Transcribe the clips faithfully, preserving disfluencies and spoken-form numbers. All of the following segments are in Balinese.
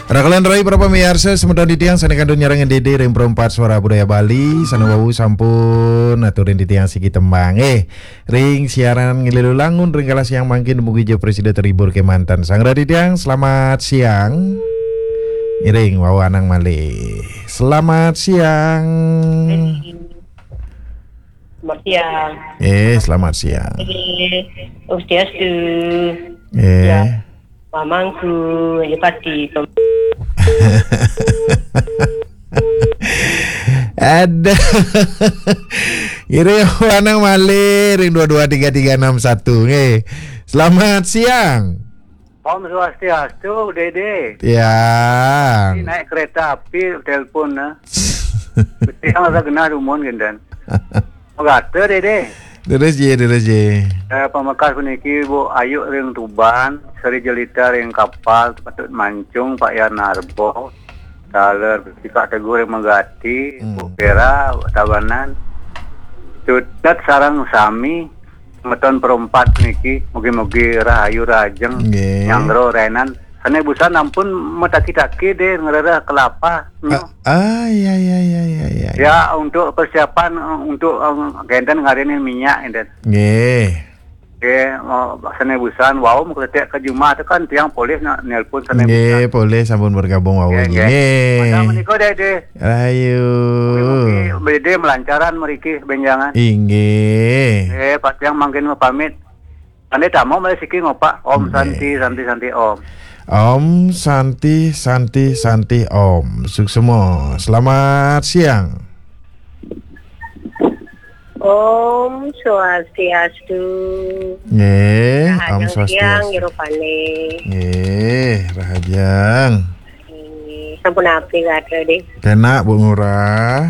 Raka lan rai para pamiarsa, semeton titiang sane kantun nyarengin Dede ring Perempat Suara Budaya Bali, sane wau sampun aturin titiang siki tembang. Eh, ring siaran nglilu langun ring kala siang mangkin, mugi ja prasida terhibur kemanten. Sang radi titiang, selamat siang. Ngiring wau anang malih. Selamat siang. Selamat siang. Eh, selamat siang. Eh, Swastiastu. Eh. Ya. Pamangku, Yupati. Pem- Aduh. Ngiring anang malih ring dua dua tiga tiga enam satu, nggih. Selamat siang. Om Swastiastu, Dede. Tiang. Ini naik kereta api, telepon, nah. Tiang rasa genah dumun, genten. Megate, Dede. Terus, ye, terus, ye. Eh, pamekas puniki, Bu Ayu ring Tuban, Sri Jelita ring Kapal, Patut Mancung, Pak Yan Narbo, taler Pak Teguh ring Megati, Hmm. Bu Vera, Tabanan. Tutet sareng sami, semeton Perempat niki, mugi-mugi rahayu rahajeng, Nggih. Nyanggra rainan. Sane busan ampun mataki-taki deh ngrereh kelapa. Nyo. Ah, ah, ya, ya, ya, ya, ya, ya. Ya, untuk persiapan, eh, untuk, eh, genten ngarinin minyak, genten. Nggih. Nggih, eh, sane busan, wau mukletek ke jumah tu kan tiang polih nak nelpon sane Nggih, busan. Polih sampun bergabung wau Nggih, lagi. Nggih. Nggih. Pada menika, Dede. Ayo. Mugi-mugi Dede melancaran meriki benjangan. Inggih. Nggih, Pak tiang mangkin mapamit. Ane tamo malih siki ngopak. Om Nggih. Santi, Santi, Santi, Om. Om Santi, Santi, Santi, Om. Suksma. Selamat siang. Om Swastiastu. Nggih, Om Rahajeng siang, Swastiastu. Nggih, rupane. Nggih, rahajeng. Nggih, sampun api gatra deh. Kenak, Bu Ngurah.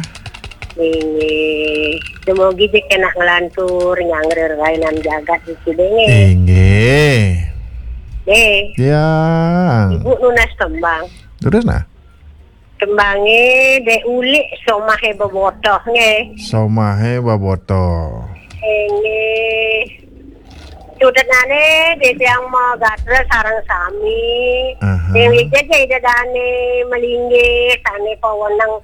Nggih. Dumogi jek kenak nglantur nyanggra rainan jagat iki deh, nggih. Inggih. Nggih. Ya. Ibu nunas tembang. Terus, nah? Tembange Dek Ulik Somahe Bebotoh, nggih. Somahe Bebotoh. Nggih. Cutetnane Dek Hyang Magatra sareng sami. Aha. Dewi Jaja Ida Dane Melinggih, sane paweneng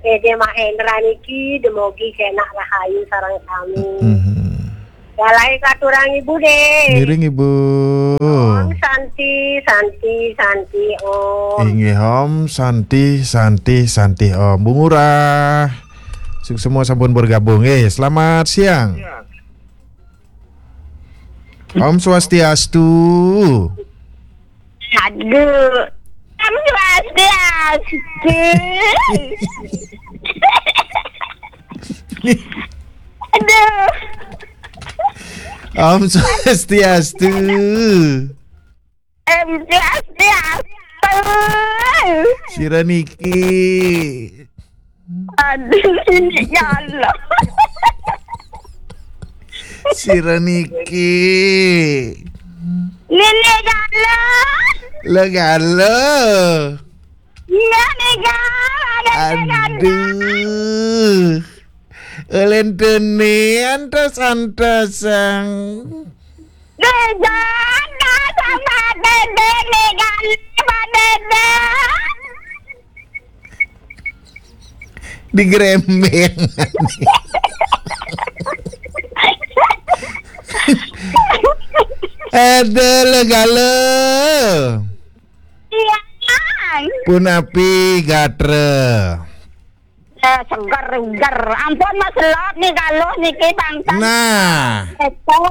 Ede Mahendra niki, demogi kenak rahayu sareng sami. Mhm. Kalih katurang Ibu, deh. Ngiring, Ibu. Om Santi, Santi, Santi, Om. Inggih, Om Santi, Santi, Santi, Om. Bu Ngurah. Suksma sampun bergabung. Eh, selamat siang. Siang. Om Swastiastu. Aduh. Om Swastiastu. Aduh. Om Swastiastu. Om Swastiastu. Sira niki. Aduh, ini ya Allah. Sira niki. Nenek Galo. Le Galo. Iya, Nenek Galo. Ada Nenek Galo. Aduh. Ulentene antos-antosang. Nenek Galo sama Dede, Nenek Galo sama Dede. Digrembeng. Ada Le Galo. Iya. Pun api gatra. Eh, seger, seger. Ampun, Mas Lop, nih Galuh niki bangsa. Nah. Itu,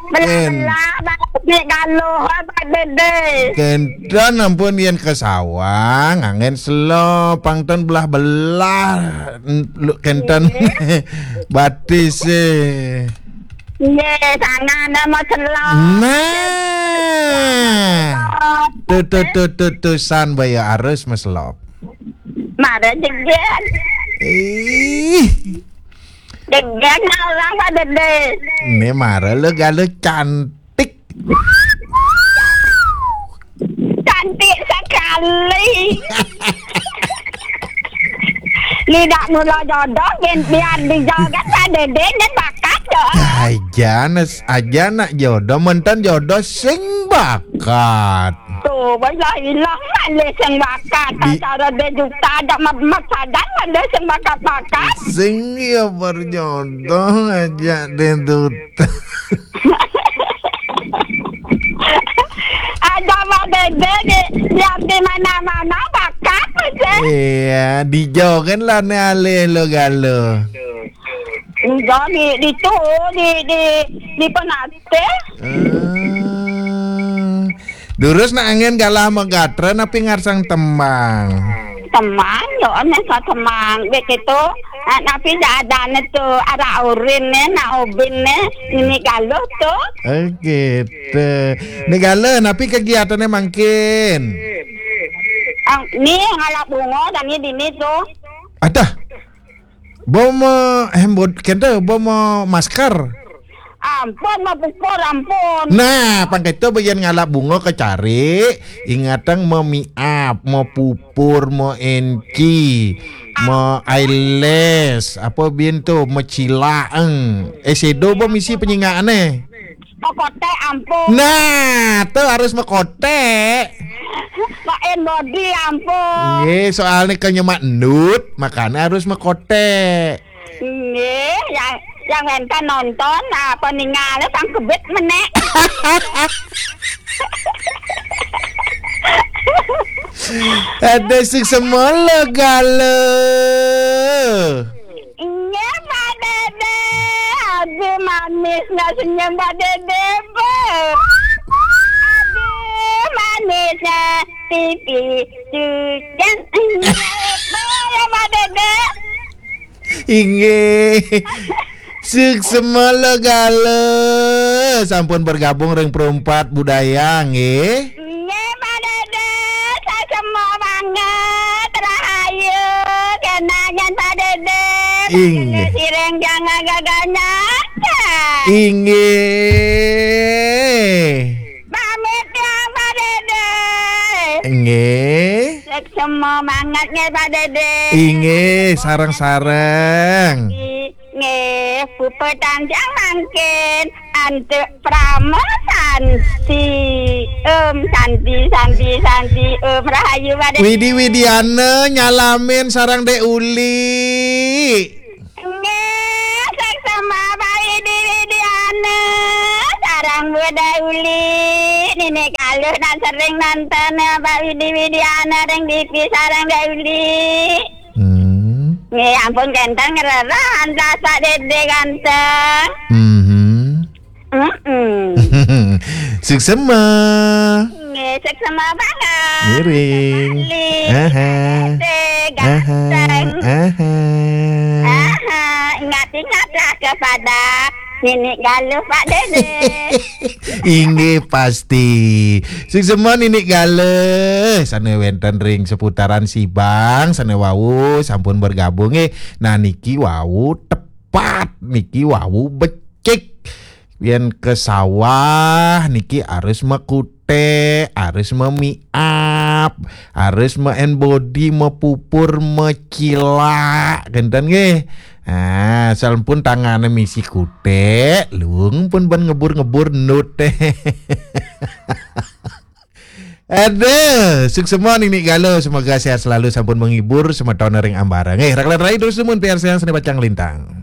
belah-belah, Mas, nih Galuh, apa Dede? Kenten ampun yen ke sawah, nganggen selo, pang ten belah-belah, n-, lu-, kenten Iya. Batis, eh. Iya, sana ada Mas Lop. Nah. Tuh, tuh, tuh, tuh, tuh, san baya arus, Mas Lop. Mara jegan. Ih. Jegan orang pada deh. Ini mara Le Galo cantik. Cantik sekali. Lidak mula jodoh, biar, biar dijoget pada deh, ini bakat, ya. Aja, nes-, aja nak jodoh, menten jodoh sing bakat. Tuh. Oh, wala ilang malih sing bakat. Di- Acara dé duta ada ma-, masadan malih sing bakat-bakat. Sing ya berjodoh aja deh duta. Ada Mak Dédé di, di, di mana-mana bakat aja. Iya, dijogen lah né alih lo galo. Enggak, di, di tu, di, di, di Penatih. Hmm. Durus nak angin galah magatra napi ngarsang tembang. Tembang, yo, aneh sa tembang. Begitu, ah, napi dak ada né tu, arah urin né, nak ubin né, nini galuh tu. Oh, gitu. Ni galuh, napi kegiatannya mangkin? Ah, ni ngalap bunga dan ni dini tu. Adah. Bo mo hembod kento, bo mo masker. Ampun, mau pupur, ampun. Nah, pang kento bagian ngalap bunga kecari, ingatang mau miap, mau pupur, mau enci, mau eyelash, apa bin tu, mau cilaeng. Eh, sedo bo misi penyingakan eh. Mekotek, ampun. Nah, tu harus mekotek. Pakai body, ampun. Nggih, soalnya kan nyemak endut, makanya harus mekotek. Nggih, yang, yang wénten nonton apa ningalé pang kebit menék. Ada sing semolo galo. Nggih, Pak Dédé. Abi manisnya senyum Pak Dédé, Bu. Abi manisnya pipi cucang. Nggih, Bu, ya, Pak Dédé. Inggih. Suksma gala sampun bergabung ring Perumpat Budaya, nggih. Nggih, Pak Dédé, suksma banget, rahayu, kenangan Pak Dédé. Inggih. Siring jangan gagal nyata. Inggih. Pamit ya, Pak Dédé. Nggih. Suksma banget nggih, Pak Dédé. Inggih, sareng-sareng. Nggih, puput tandang mangkin antuk Prama Santi. Om Santi, Santi, Santi. Om Rahayu, Pak Dédé. Widi Widiana nyalamin sareng Dek Uli. Nggih, suksma Pak Widi Widiana, sareng Bu Dek Uli. Nini kaluh nak sering nonton ya, Pak Widi Widiana ring T V sareng Dek Uli. Hmm. Nggih, ampun kenten ngrereh, antas Pak Dédé ganteng. Mhm. Mm-mm. Suksma. Nggih, suksma banget. Miring. Bali. Aha. Dédé, aha, ganteng. Aha. Aha, ingat-ingatlah kepada Nini Galuh, Pak Dédé. Inggih pasti. Suksma Nini Galuh. Sane wenten ring seputaran Sibang, sane wau sampun bergabung nggih. Nah, niki wau tepat, niki wau becik. Yen ke sawah niki harus mekute, harus memiap, harus me-enbody, mepupur, mecilak, kenten nggih. Ah, sampun tangane misi kute, luung pun ban ngebur-ngebur nut. Aduh, suksma Nini Galuh, semoga sehat selalu, sampun menghibur semeton ring ambara. Nggih, Raklan Rai terus dumun P R C yang seni pacang lintang.